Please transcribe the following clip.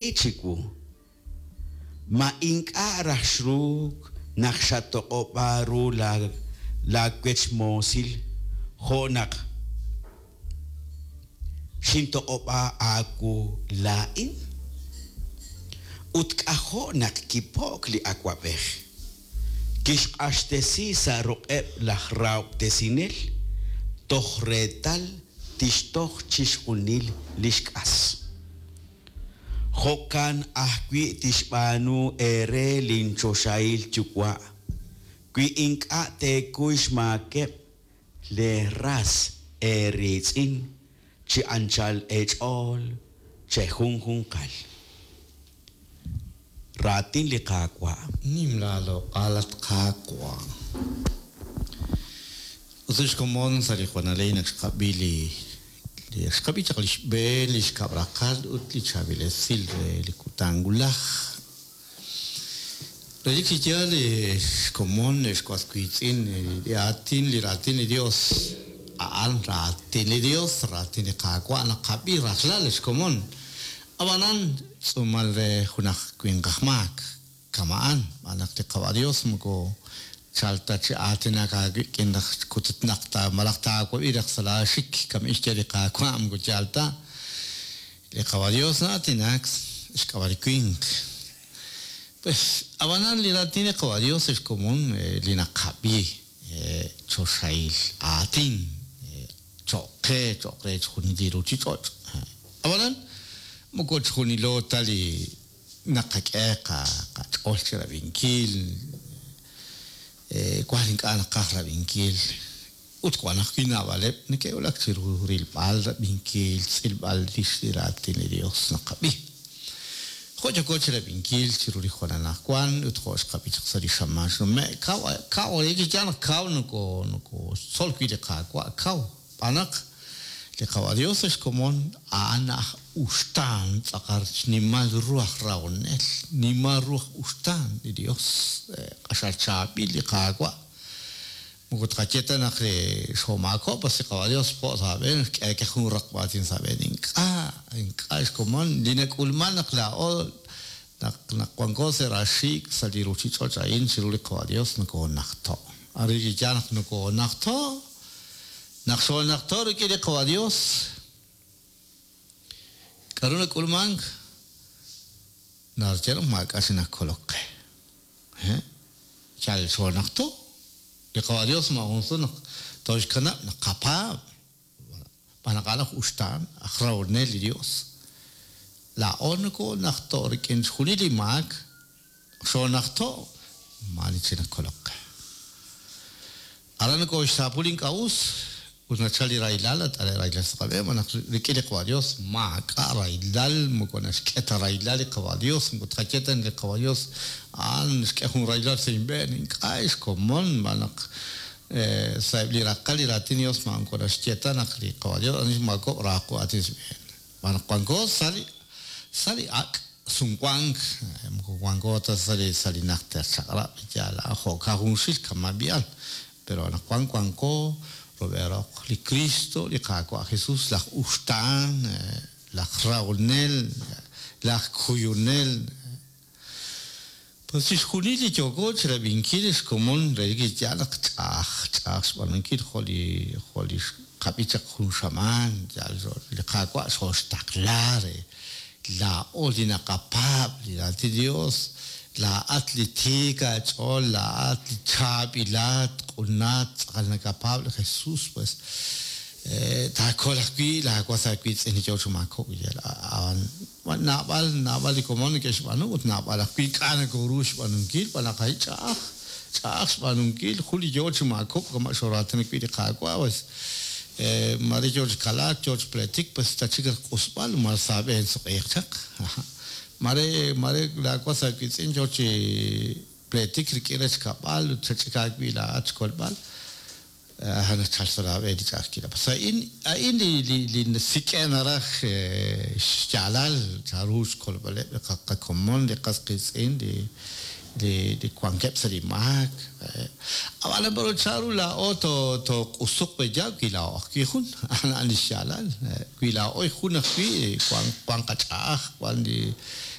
chiwu. Ma ink'a' raj xruuk naq xatoq'ob'a ru laawechmoosil jo' naq xintoq'ob'a aawu laa'in? Ut k'ajo' naq kipo'k li awab'ej. Kixq'axtesi sa' ruq'eb' laj rahob'tesinel toj reetal tixtoj chixjunil li xk'as. Jo'kan ajwi' tixb'aanu eere linchoxahil Yuwa' wi ink'a' teekuy xmaakeb' leeras eeriitz'in chi anchal eech'ool chejunjunqal. Raatin li Qaawa'. Nim laaloq'al, at Qaawa'. Ut sa' xkomon sa' li juanalej naq xqab'i li li xqab'i chaq li xb'een, li xkab' raqal ut li chaab'il esil re li kutan wulaj. Relik chi yaal xkomon ex was wiitz'in li aatin li raatin li Dios a'an raatin li Dios, raatin li Qaawa' naqab'i rajlal xkomon. Ab'anan tz'uumal re junaq winq aj maak kama'an, xb'aan naq li Qawa' Dios moko chal ta chi aatinak aawik'in naq kututnaq ta malaj taawab'i raj sa' laaxik, kama'in xye li Qaawa' moko yaal ta. Li Qawa' Dios na'aatinak xk'ab'a' li winq. Pues, ab'anan li raatin li Qawa' Dios ex komon li naqab'i choxahil aatin cho'q qe, cho'q re chixjunil li ruchich'och'. Ab'anan moko chixjunilo ta li naqak'e qach'ool chi rab'inkil, wan ink'a' naqaj rab'inkil. Ut wan ajwi' naab'aleb' neke'wulak chiru rilb'al, rab'inkil, xtz'ilb'al rix li Raatin li Dios naqab'i. Jo' yooko chirab'inkil chiru li jwal anajwan ut jo' xqab'i chaq sa' li xamaan xnume', kaw, kaw, relik chi yaal naq kaw noko, nokoxtzol wi' li Qaawa', kaw, xb'aan naq li Qawa' Dios ex komon, a'an aj uxtaan, tz'aqal xnimal ru aj rahonel, nimal ru aj uxtaan li Dios, q'axal chaab'il li Qaawa'. Moko tqaye ta naq xoomaakob'k, pas li Qawa' Dios xpo' sa' aab'een, xk'e jun raqb'a aatin sa' aab'een. Ink'a', ink'a' xkomon. Li nak'ulman naq laa'o, naq naq wanko sa' raaxiik' sa' li ruchich'och' a'in chiru li Qawa' Dios nokoonajto'. Arin li yaal naq nokoonajto', naq xoonajto' rik'in li Qawa' Dios, k'a'ru nak'ulmank? Narye naq maak'a' chik nakolok qe. Yal xoonajto'. Li Qawa' Dios maajun sut naq tooxkanab' naq qapaab', xb'aan naq a'an aj uxtaan, aj rahonel li Dios. Laa'o nokoonajto' rik'in chixjunil li maak, xoonajto', maa'ani chik nakolok qe. Aran nokooxsaapu li ink'a' us ut nachal li rahilal, nat'ane' rahilal sa' qab'een, xb'aan naq rik'in li Qawa' Dios maak'a' rahilal, moko naxk'e ta rahilal li Qawa' Dios, moko tqaye ta naq li Qawa' Dios a'an xk'e jun rahilal sa' inb'een, ink'a' xkomon, xb'aan naq sa'eb' li raqal li raatin li Dios moko naxye ta naq li Qawa' Dios ani xmaakob'k raaqu aatin sa' xb'een. Xb'aan naq wanko sa' li sa' li ak' sumwank, moko wanko ta sa' li sa' li najter chaq'rab', yaal a'an jo'kan junxil kama' b'i'al, pero anaqwan wanko rub'el roq li Kristo, li Qaawa' Jesus, laj uxtaan, laj rahonel, laj kuyunel. Pues chixjunil li yooko chirab'inkil xkomon relik li yaal naq ch'a'aj, ch'a'aj xb'aanunkil jo' li jo' li xqab'i chaq jun xamaan, yaal li Qaawa' xooxtaqla re laa'o li naqapaab' li Raatin Dios, laa'at li tiik aach'ool, laa'at li chaab'ilat, q'unat, tz'aqal nakapaab' li Jesus, pues taakol ajwi' laawas aawiitz'in li yoo chi maakob'k, yaal a'an Wan naab'al, naab'al li komon neke'xb'aanu ut naab'al ajwi' ink'a' nokoru xb'aanunkil, xb'aan naq a'in ch'a'aj, ch'a'aj xb'aanunkil. Jun li yoo chi maakob'k kama' xooraatinak wi' li Qaawa', pues, maare yoo chi kalaak, yoo chi pleetik, pues tachik raj q'usb'al, ma sa' aab'een suq'iiq chaq. Maare, maare laa was aawiitz'in yoo chi pleetik rik'in rech kab'al ut xach'ik aawib' laa'at xkolb'al. A'an nachal sa' laab'een li ch'a'ajkilal. Pues a'in, a'in li, li, li sik'e'k naraj xyaalal chanru xkolb'aleb' li qakomon, li qas qiitz'in, li, li li wankeb' sa' li maak. Ab'anan pero chanru laa'o tooq'usuq pe'yaal wi laa'o ajwi' jun? A'an li xyaalal. Wi laa'o jun ajwi', wan qach'a'aj, wan li.